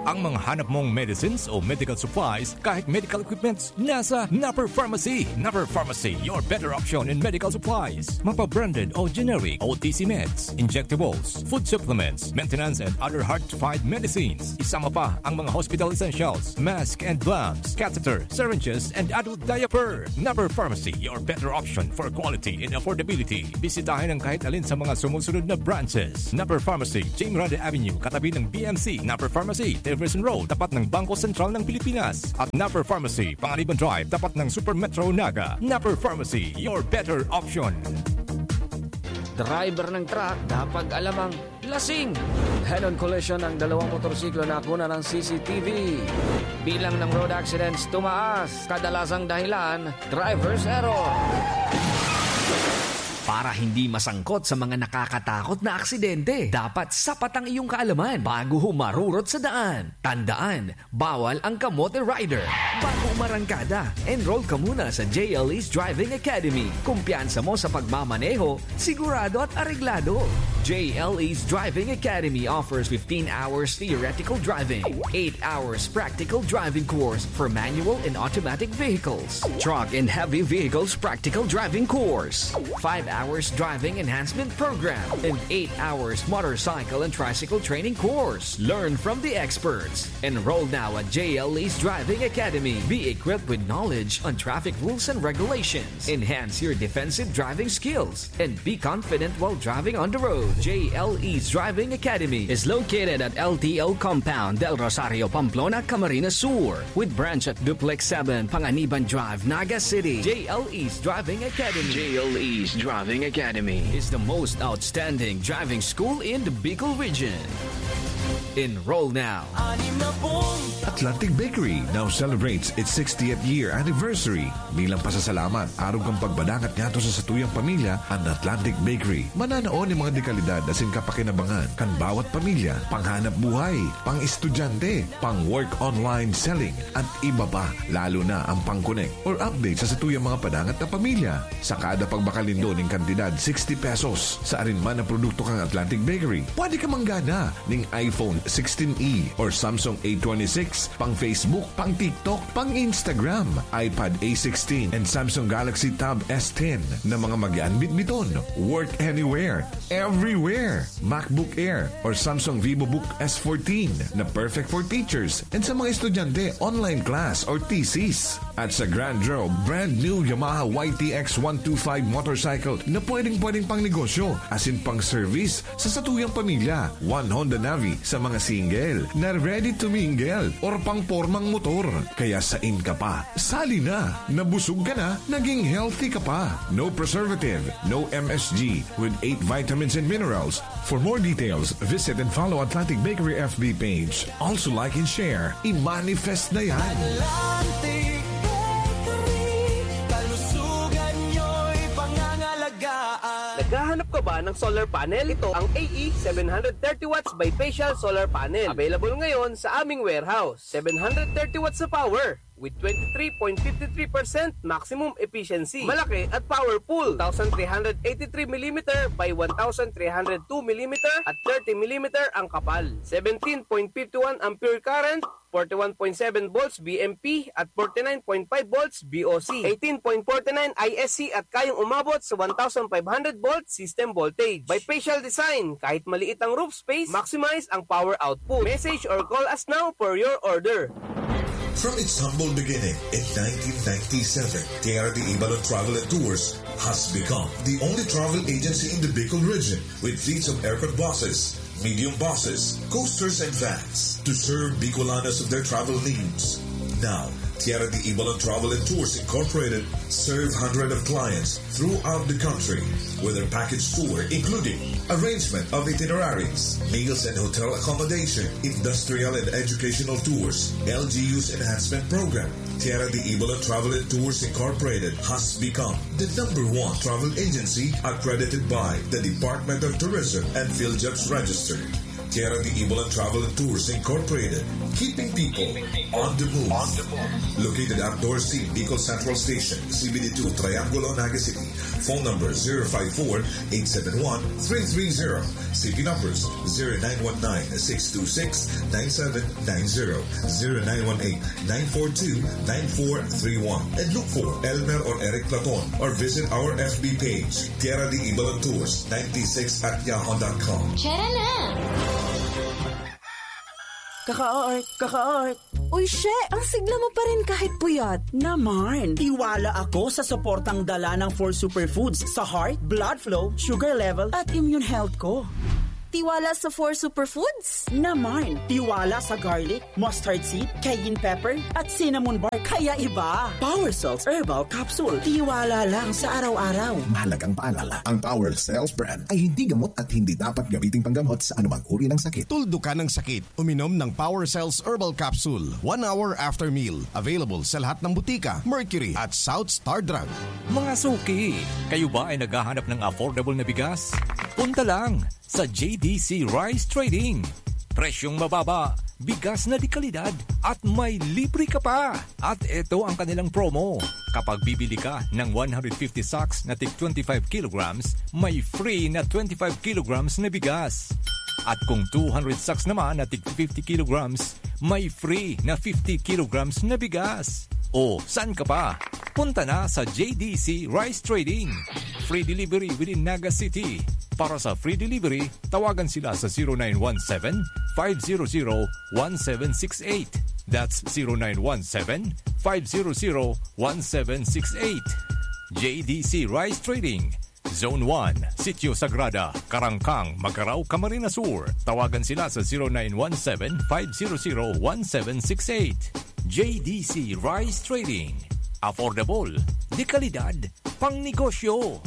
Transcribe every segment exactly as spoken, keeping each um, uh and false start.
Ang mga hanap mong medicines o medical supplies, kahit medical equipments, nasa Napper Pharmacy. Napper Pharmacy, your better option in medical supplies. Mapa-branded o generic, O T C meds, injectables, food supplements, maintenance and other hard-to-find medicines. Isama pa ang mga hospital essentials, mask and gloves, catheter, syringes, and adult diaper. Napper Pharmacy, your better option for quality and affordability. Bisitahin ang kahit alin sa mga sumusunod na branches. Napper Pharmacy, Jing Grande Avenue, katabi ng B M C. Napper Pharmacy, Jefferson Road, tapat ng Bangko Sentral ng Pilipinas. At Napper Pharmacy, Panganiban Drive, tapat ng Super Metro Naga. Napper Pharmacy, your better option. Driver ng truck, dapat alam ang lasing. Head-on collision ang dalawang motorsiklo na nakuna ng C C T V. Bilang ng road accidents tumaas. Kadalasang dahilan, driver's error. Para hindi masangkot sa mga nakakatakot na aksidente, dapat sapat ang iyong kaalaman bago humarurot sa daan. Tandaan, bawal ang kamote rider. Bago umarangkada, enroll ka muna sa J L E's Driving Academy. Kumpiyansa mo sa pagmamaneho, sigurado at areglado. J L E's Driving Academy offers fifteen hours theoretical driving, eight hours practical driving course for manual and automatic vehicles, truck and heavy vehicles practical driving course, five hours driving enhancement program, and eight hours motorcycle and tricycle training course. Learn from the experts. Enroll now at J L E's Driving Academy. Be equipped with knowledge on traffic rules and regulations. Enhance your defensive driving skills and be confident while driving on the road. J L E's Driving Academy is located at L T O Compound, Del Rosario, Pamplona, Camarines Sur, with branch at Duplex seven, Panganiban Drive, Naga City. J L E's Driving Academy. J L E's Driving Academy is the most outstanding driving school in the Bicol region. Enroll now. Atlantic Bakery now celebrates its sixtieth year anniversary. Bilang pasasalamat, arog kan pagbadangat ngadto sa satuyang pamilya, an Atlantic Bakery mananao nin mga dekalidad asin kapakinabangan kan bawat pamilya, panghanap buhay, pang-estudyante, pang-work online selling, at iba pa, lalo na ang pang-connect or update sa satuyang mga padangat na pamilya. Sa kada pagbakal nindo nin kantidad sixty pesos sa arin man na produkto kan Atlantic Bakery, pwede ka manggana nin iPhone sixteen E or Samsung A twenty-six, pang Facebook, pang TikTok, pang Instagram, iPad A sixteen, and Samsung Galaxy Tab S ten na mga magian bitbiton. Work anywhere, everywhere. MacBook Air or Samsung VivoBook S fourteen na perfect for teachers and sa mga estudyante, online class or thesis. At sa Grand Draw, brand new Yamaha Y T X one two five motorcycle na pwedeng-pwedeng pang negosyo, asin pang service sa satuyang pamilya. One Honda Navi sa mga single na ready to mingle or pang pormang motor. Kaya sain ka pa? Sali na! Nabusog ka na, naging healthy ka pa. No preservative, no M S G, with eight vitamins and minerals. For more details, visit and follow Atlantic Bakery F B page. Also like and share. I-manifest na yan! Atlantic Bakery, kalusugan nyo'y pangangalagaan. Naghahanap ka ba ng solar panel? Ito ang A E seven hundred thirty watts bifacial solar panel. Available ngayon sa aming warehouse. Seven hundred thirty watts na power with twenty-three point five three percent maximum efficiency. Malaki at powerful. Two thousand three hundred eighty-three millimeter by one thousand three hundred two millimeter at thirty millimeter ang kapal. Seventeen point five one ampere current, forty-one point seven volts B M P at forty-nine point five volts B O C, eighteen point forty-nine I S C at kayang umabot sa one thousand five hundred volt system voltage. Bifacial design, kahit maliit ang roof space, maximize ang power output. Message or call us now for your order. From its humble beginning in nineteen ninety-seven, Tierra de Ibalon Travel and Tours has become the only travel agency in the Bicol region with fleets of aircon buses, medium buses, coasters, and vans to serve Bicolanos of their travel needs. Now, Tierra de Ibalon Travel and Tours Incorporated serve hundred of clients throughout the country with their package tour, including arrangement of itineraries, meals and hotel accommodation, industrial and educational tours, L G U's enhancement program. Tierra de Ibalon Travel and Tours Incorporated has become the number one travel agency accredited by the Department of Tourism and PhilJobs Register. Tierra de Ibalan Travel and Tours Incorporated, keeping people on the move. Located at Dorsey, Bicol Central Station, C B D two, Triangulo, Naga City. Phone number zero five four, eight seven one, three three zero. C P numbers zero nine one nine, six two six, nine seven nine zero, zero nine one eight, nine four two, nine four three one. And look for Elmer or Eric Platon or visit our F B page, Tierra de Ibalan Tours ninety-six at yahoo dot com. Tara na! Kaka-art, kaka-art. Uy, she! Ang sigla mo pa rin kahit puyat. Naman, tiwala ako sa suportang dala ng four superfoods sa heart, blood flow, sugar level, at immune health ko. Tiwala sa four superfoods? Naman, tiwala sa garlic, mustard seed, cayenne pepper, at cinnamon bark. Kaya iba. Power Cells Herbal Capsule. Tiwala lang sa araw-araw. Mahalagang paalala, ang Power Cells brand ay hindi gamot at hindi dapat gamitin panggamot sa anumang uri ng sakit. Tuldukan ang sakit. Uminom ng Power Cells Herbal Capsule one hour after meal. Available sa lahat ng butika, Mercury at South Star Drug. Mga suki, kayo ba ay naghahanap ng affordable na bigas? Punta lang sa J D C Rice Trading. Presyong mababa, bigas na de kalidad, at may libre ka pa. At ito ang kanilang promo. Kapag bibili ka ng one hundred fifty sacks na tig twenty-five kilograms, may free na twenty-five kilograms na bigas. At kung two hundred sacks naman na tig fifty kilograms, may free na fifty kilograms na bigas. O, saan ka pa? Punta na sa J D C Rice Trading. Free delivery within Naga City. Para sa free delivery, tawagan sila sa zero nine one seven, five zero zero, one seven six eight. That's zero nine one seven, five zero zero, one seven six eight. J D C Rice Trading, Zone one, Sitio Sagrada, Karangkang, Magarao, Camarines Sur. Tawagan sila sa zero nine one seven, five zero zero, one seven six eight. J D C Rice Trading. Affordable, de kalidad, pang negosyo.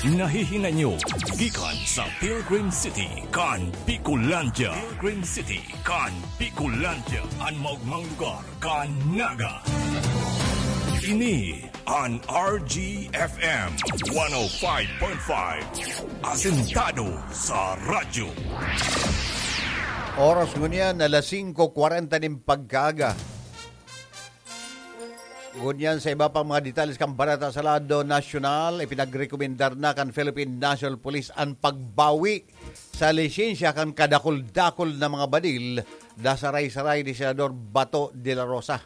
Nahihinay nyo gikan sa Pilgrim City kan Bicolandia. Pilgrim City kan Bicolandia, an maogmang lugar kan Naga. Ini an R G F M one oh five point five, asentado sa radyo. Oras ngunyan, alas singko kwarenta nin pagkaaga. Ngunyan, sa iba pang mga detalles kan bareta sa lado nasyonal, ipinagrekomendar na kan Philippine National Police an pagbawi sa lisensya kan kadakul-dakul na mga badil na saray-saray ni Senador Bato de la Rosa.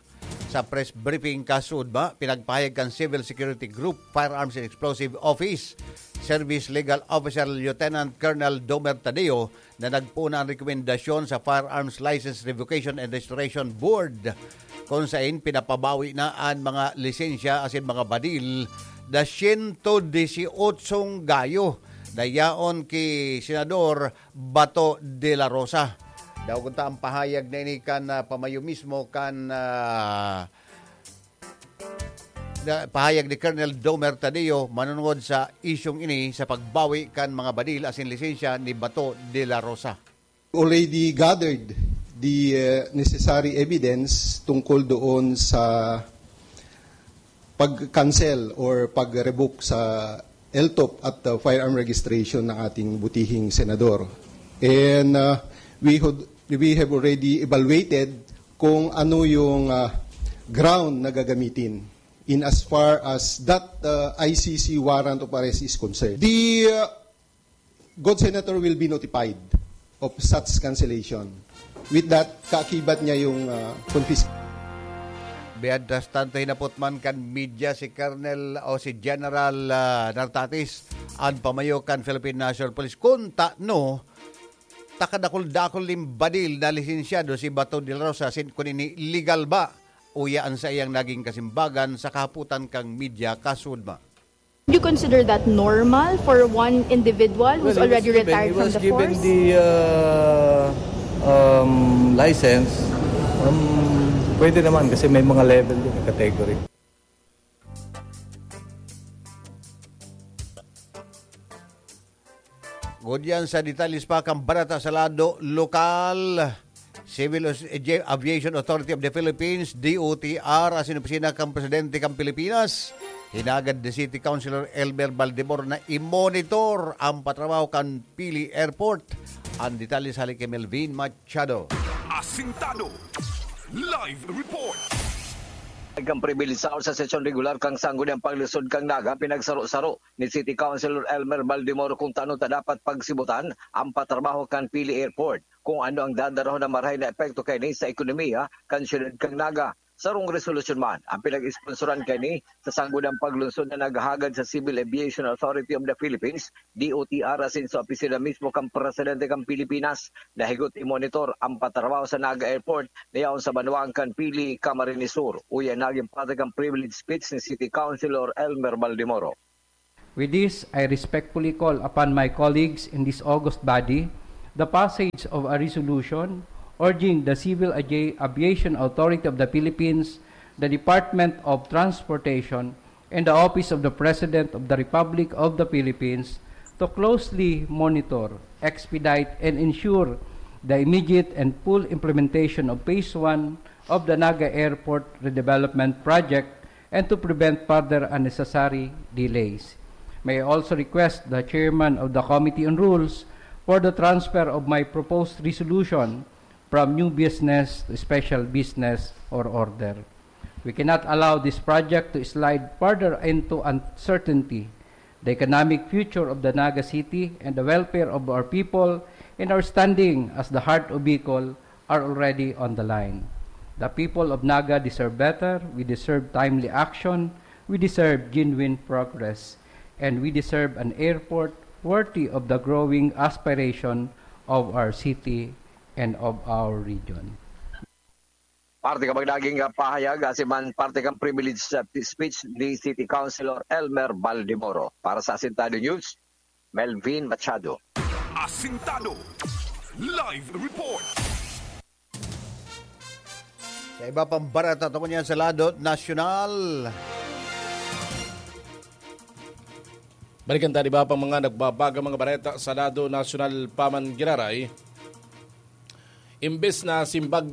Sa press briefing kasuodma, pinagpahayag kan Civil Security Group Firearms and Explosive Office Service Legal Officer Lieutenant Colonel Domer Tadeo na nagpoon na an rekomendasyon sa Firearms License Revocation and Restoration Board, kun saen pinapabawi na an mga lisensya asin mga badil na siyento disyotso gayo na yaon ki Senador Bato de la Rosa. Daogon ta an pahayag na ini kan, ah, pamayo mismo kan, ah, na, pahayag ni Colonel Domer Tadeo manunungod sa isyung ini sa pagbawi kan mga badil asin lisensya ni Bato de la Rosa. Already gathered the, uh, necessary evidence tungkol doon sa pag-cancel or pag-revoke sa L T O P at, uh, firearm registration ng ating butihing senador. And, uh, we had, we have already evaluated kung ano yung, uh, ground na gagamitin in as far as that, uh, I C C warrant of arrest is concerned. The, uh, good senator will be notified of such cancellation. With that, kaakibat niya yung, uh, confis- Mientras tanto, hinapot man kan media si Colonel o si General, ah, Nartatis, an pamayo kan Philippine National Police, kun tano ta kadakul-dakul nin badil na lisensyado si Bato de la Rosa, sin kun ini legal ba, uya an saiyang naging kasimbagan sa kahapotan kan media kasuodma. Do you consider that normal for one individual who's Well, he was already given, retired he from was the given force? the, uh, um, license. Um, pwede naman kasi may mga level din, category. Ngunyan sa detalles pa kan bareta sa lado lokal, Civil Aviation Authority of the Philippines, D O T R, asin opisina kan Presidente kan Pilipinas, Hinagad ni City Councilor Elmer Baldemoro na i-monitor ang patrabaho kan Pili Airport. Ang detalye sa hali ki Melvin Machado. Asintado. Live report. Kan pribilehado sa sesyon regular kan Sangguniang Paglunsod kan Naga, pinagsaro-saro ni City Councilor Elmer Baldemoro kung tano ta dapat pagsibutan ang patrabaho kan Pili Airport, kung ano ang dadarahon na marahay na epekto kaini sa ekonomiya kan siyudad kan Naga. Sarong resolusyon man ang pinag-esponsoran kaini sa Sangguniang Paglunsod na naghahagad sa Civil Aviation Authority of the Philippines, D O T R, asin sa opisina mismo kan Presidente kan Pilipinas, na higot i-monitor ang patrabaho sa Naga Airport na yaon sa banwaan kan Pili, Camarines Sur. Uya nagin parte kan privilege speech ni City Councilor Elmer Baldemoro. With this, I respectfully call upon my colleagues in this august body the passage of a resolution urging the Civil Avi- Aviation Authority of the Philippines, the Department of Transportation, and the Office of the President of the Republic of the Philippines to closely monitor, expedite, and ensure the immediate and full implementation of Phase one of the Naga Airport Redevelopment Project and to prevent further unnecessary delays. May I also request the Chairman of the Committee on Rules for the transfer of my proposed resolution from new business to special business or order. We cannot allow this project to slide further into uncertainty. The economic future of the Naga City and the welfare of our people and our standing as the heart of Bicol are already on the line. The people of Naga deserve better. We deserve timely action. We deserve genuine progress. And we deserve an airport worthy of the growing aspiration of our city and of our region. Parte kan mga naging pahayag, asin man parte kan privilege speech ni City Councilor Elmer Baldemoro. Para sa Asintado News, Melvin Machado. Asintado Live Report. Sa iba pang bareta, tungkol niyan sa lado nasyonal. Balikan ta iba pang mga nagbabagang mga bareta sa lado nasyonal pa man giraray. Imbes na simbag,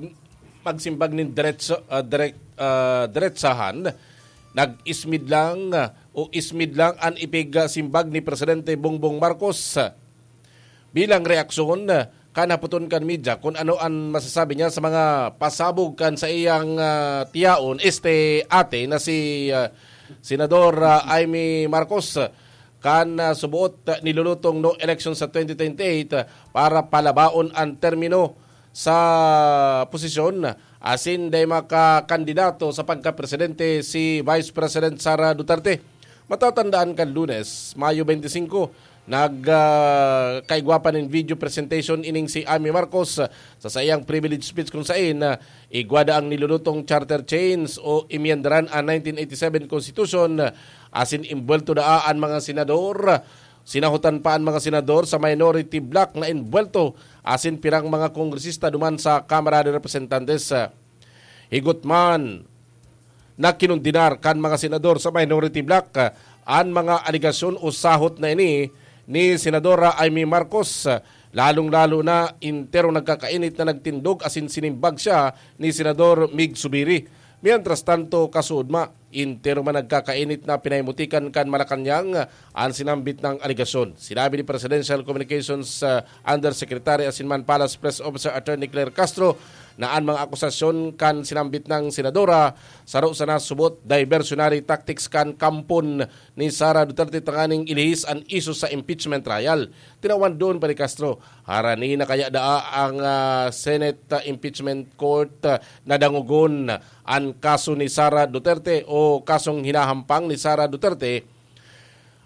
magsimbag nin diretso, ah, direk, ah, diretsahan, nag-ismid lang, ah, o ismid lang an ipigsimbag ni Presidente Bongbong Marcos. Bilang reaksyon, ah, kan hapoton kan media kun ano an masasabi niya sa mga pasabog kan saiyang, ah, tiyaon, este ate na si, ah, Senador, ah, Imee Marcos. Kan, ah, suboot, ah, nilulutong no election sa twenty twenty-eight, ah, para palabaon an termino sa posisyon, asin dai makakandidato sa pagkapresidente si Vice President Sara Duterte. Matatandaan kan Lunes, Mayo twenty-five, nag, ah, kaigwa pa nin video presentation ining si Imee Marcos sa saiyang privilege speech, kun saen, ah, igwa daa an nilulutong charter change o emyendaran an nineteen eighty-seven Constitution, asin imbuwelto daa an mga senador. Sinahotan pa an mga senador sa minority bloc na imbuwelto asin pirang mga kongresista duman sa Kamara de Representantes. Higot man na kinondenar kan mga senador sa minority bloc, ah, an mga alegasyon o sahot na ini ni Senadora Imee Marcos, ah, lalong-lalo na enterong nagkakainit na nagtindog asin sinimbag siya ni Senador Mig Zubiri. Mientras tanto, kasuodma, entero man nagkakainit na pinahimutikan kan Malacañang an sinambit nang alegasyon. Sinabi ni Presidential Communications, ah, Undersecretary asin man Palace Press Officer Attorney Claire Castro na an mga akusasyon kan sinambit nang senadora saro sana subot diversionary tactics kan kampon ni Sara Duterte tanganing ilihis an isyu sa impeachment trial. Tinawan duon pa ni Castro, harani na kaya daa ang, ah, Senate, ah, Impeachment Court, ah, na dangogon an kaso ni Sara Duterte o kasong hinahampang ni Sara Duterte.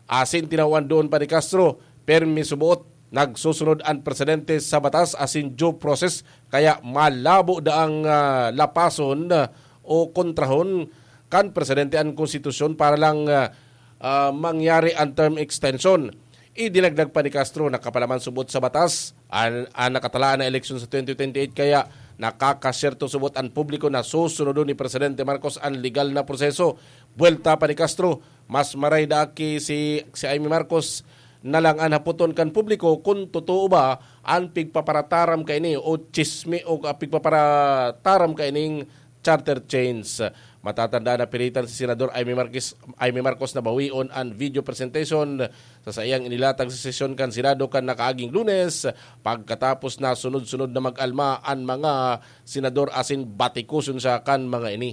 Asin tinawan duon pa ni Castro, permi suboot, nagsusunod an presidente sa batas asin due process, kaya malabo daang, ah, lapason, ah, o kontrahon kan presidente an konstitusyon para lang, ah, ah, mangyari an term extension. Idinagdag pa ni Castro na kapalaman subot sa batas an, an nakatalaan na eleksyon sa twenty twenty-eight, kaya nakakasyerto subot an publiko na susunodon ni Presidente Marcos an legal na proseso. Buwelta pa ni Castro, mas maray daa ki si, si Imee Marcos na lang an hapoton kan publiko kun totoo ba an pigpaparataram kaini o tsismi o, ah, pigpaparataram kaining charter change. Matatandaan na pilitan si Senador Imee Marquez, Imee Marcos na bawion an video presentation sa saiyang inilatag sa sesyon kan Senado kan nakaaging Lunes, pagkatapos na sunod-sunod na mag-alma an mga senador asin batikuson siya kan mga ini.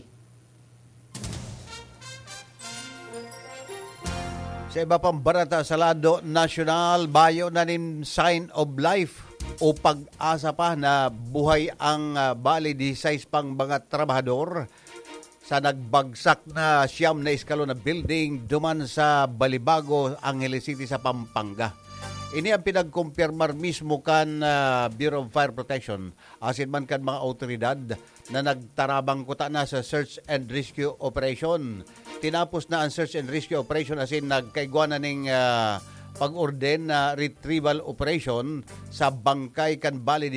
Sa iba pang barata sa lado nasyonal, bayo na nin sign of life o pag-asa pa na buhay ang, ah, bali disisais pang mga trabahador sa nagbagsak na siyam na eskalon na building duman sa Balibago, Angeles City sa Pampanga. Ini ang pinagkumpirmar mismo kan, ah, Bureau of Fire Protection asin man kan mga awtoridad na nagtarabang kuta na sa search and rescue operation. Tinapos na ang search and rescue operation asin nagkaigwa na ning, ah, pag-orden na retrieval operation sa bangkay kan bali